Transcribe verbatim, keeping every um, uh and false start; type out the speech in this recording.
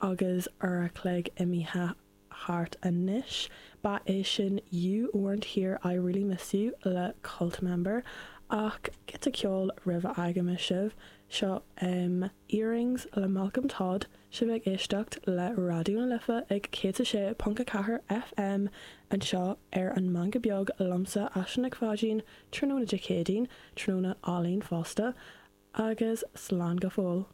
agus uair a chloig imithe thart anois. Ba é sin You Weren't Here I Really Miss You le Cult Member ach giota ceoil roimh a fhágfaidh sibh seo um, Earrings le Malcolm Todd sibh ag éisteacht le Raidió na Life ag céad a sé ponc a ceathair FM anseo ar an Meangadh Beag liomsa Aisling Nic Pháidín tráthnóna Dé Céadaoin tráthnóna álainn fosta agus slán go fóill.